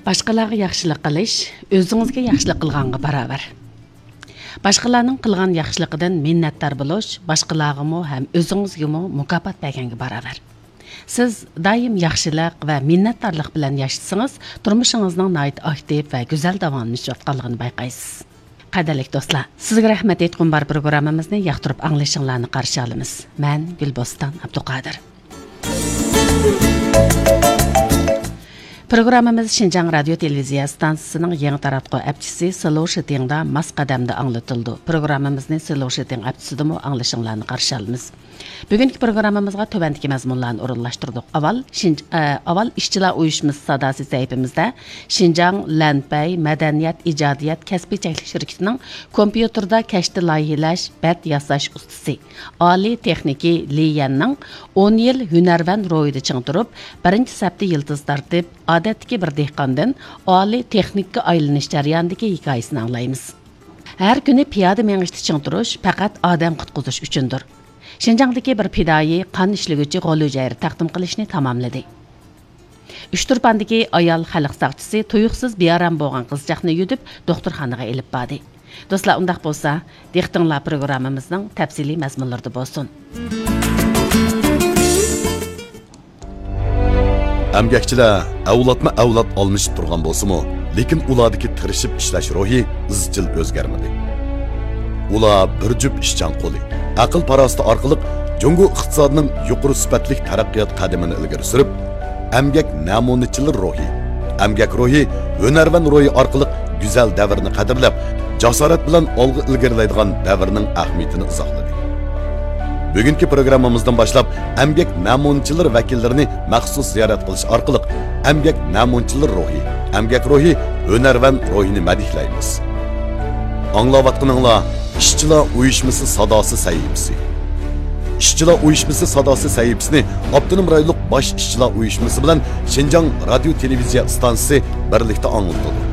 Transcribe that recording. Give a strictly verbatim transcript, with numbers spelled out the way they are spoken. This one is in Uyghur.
باشقىلارغا ياخشىلىق قىلىش ئۆزىڭىزگە ياخشىلىق قىلغانغا باراۋەر. باشقىلارنىڭ قىلغان ياخشىلىقىدىن مىننەتدار بولۇش باشقىلارغىمۇ ھەم ئۆزىڭىزگىمۇ مۇكاپات بەرگەنگە باراۋەر. سىز دائىم ياخشىلىق ۋە مىننەتدارلىق بىلەن ياشىسىڭىز، تۇرمۇشىڭىزنىڭ ناھايىتى ئاكتىپ ۋە گۈزەل داۋاملىنىشىۋاتقانلىقىنى بايقايسىز. قەدىرلىك دوستلار، سىزگە رەھمەت ئېيتقۇم بار پروگراممىمىزنى ياقتۇرۇپ ئاڭلىشىڭلارنى قارشى ئالىمىز. مەن گۈلبوستان ئابدۇقادىر. پروگراممىمىز شىنجاڭ رادىيو تېلېۋىزىيە ئىستانسىسىنىڭ يېڭى تاراتقۇ ئەپچىسى سلوشىتىڭدا ماس قەدەمدە ئاڭلىتىلىدۇ. پروگراممىمىزنى سلوشىتىڭ ئەپچىسىدىمۇ ئاڭلىشىڭلارنى قارشى ئالىمىز. بۈگۈنكى پروگراممىمىزغا تۆۋەندىكى مەزمۇنلارنى ئورۇنلاشتۇردۇق. ئاۋۋال شىنج-، ئە، ئاۋۋال ئىشچىلار ئۇيۇشمىسى ساداسى سەھىپىمىزدە شىنجاڭ لەنپەي مەدەنىيەت ئىجادىيەت كەسپىي چەكلىك شىركىتىنىڭ كومپيۇتېردا كەشتە لايىھىلەش، بەت ياساش ئۇستىسى، ئالىي تېخنىكى لى يەننىڭ ئون يىل ھۈنەرۋەن روھىدا چىڭ تۇرۇپ، بىرىنچى سەپتە يىلتىز تارتىپ، ئادەتتىكى بىر دېھقاندىن ئالىي تېخنىككا ئايلىنىش جەريانىدىكى ھېكايىسىنى ئاڭلايمىز. ھەر كۈنى پىيادە مېڭىشتا چىڭ تۇرۇش پەقەت ئادەم قۇتقۇزۇش ئۈچۈندۇر. شىنجاڭدىكى بىر پىدائىي قان ئىشلىگۈچى غول ھۈجەيرە تەقدىم قىلىشنى تاماملىدى. ئۇچتۇرپاندىكى ئايال خەلق ساقچىسى تۇيۇقسىز بىئارام بولغان قىزچاقنى يۈدۈپ، دوختۇرخانىغا ئېلىپ باردى. دوستلار، ئۇنداق بولسا، دىققىتىڭلار پروگراممىمىزنىڭ تەپسىلىي مەزمۇنلىرىدا بولسۇن. ئەمگەكچىلەر ئەۋلادمۇ ئەۋلاد ئالمىشىپ تۇرغان بولسىمۇ، لېكىن ئۇلاردىكى تىرىشىپ ئىشلەش روھى ئىزچىل ئۆزگەرمىدى. ئۇلار بىر جۈپ ئىشچان قولى، ئەقىل-پاراسىتى ئارقىلىق جۇڭگو ئىقتىسادىنىڭ يۇقىرى سۈپەتلىك تەرەققىيات قەدىمىنى ئىلگىرى سۈرۈپ، ئەمگەك نەمۇنىچىلىرى روھى، ئەمگەك روھى، ھۈنەرۋەن روھى ئارقىلىق گۈزەل دەۋرنى قەدىرلەپ، جاسارەت بىلەن ئالغا ئىلگىرىلەيدىغان دەۋرنىڭ ئەھمىيىتىنى ئىزاھلىدى. بۈگۈنكى پروگراممىمىزدىن باشلاپ ئەمگەك نەمۇنىچىلىرى ۋەكىللىرىنى مەخسۇس زىيارەت قىلىش ئارقىلىق ئەمگەك نەمۇنىچىلىرى روھى، ئەمگەك روھى، ھۈنەرۋەن روھىنى مەدھىيلەيمىز. ئاڭلاۋاتقىنىڭلار ئىشچىلار ئۇيۇشمىسى ساداسى سەھىپىسى. ئىشچىلار ئۇيۇشمىسى ساداسى سەھىپىسىنى ئاپتونوم رايونلۇق باش ئىشچىلار ئۇيۇشمىسى بىلەن شىنجاڭ رادىيو تېلېۋىزىيە ئىستانسىسى بىرلىكتە ئاڭلىتىدۇ.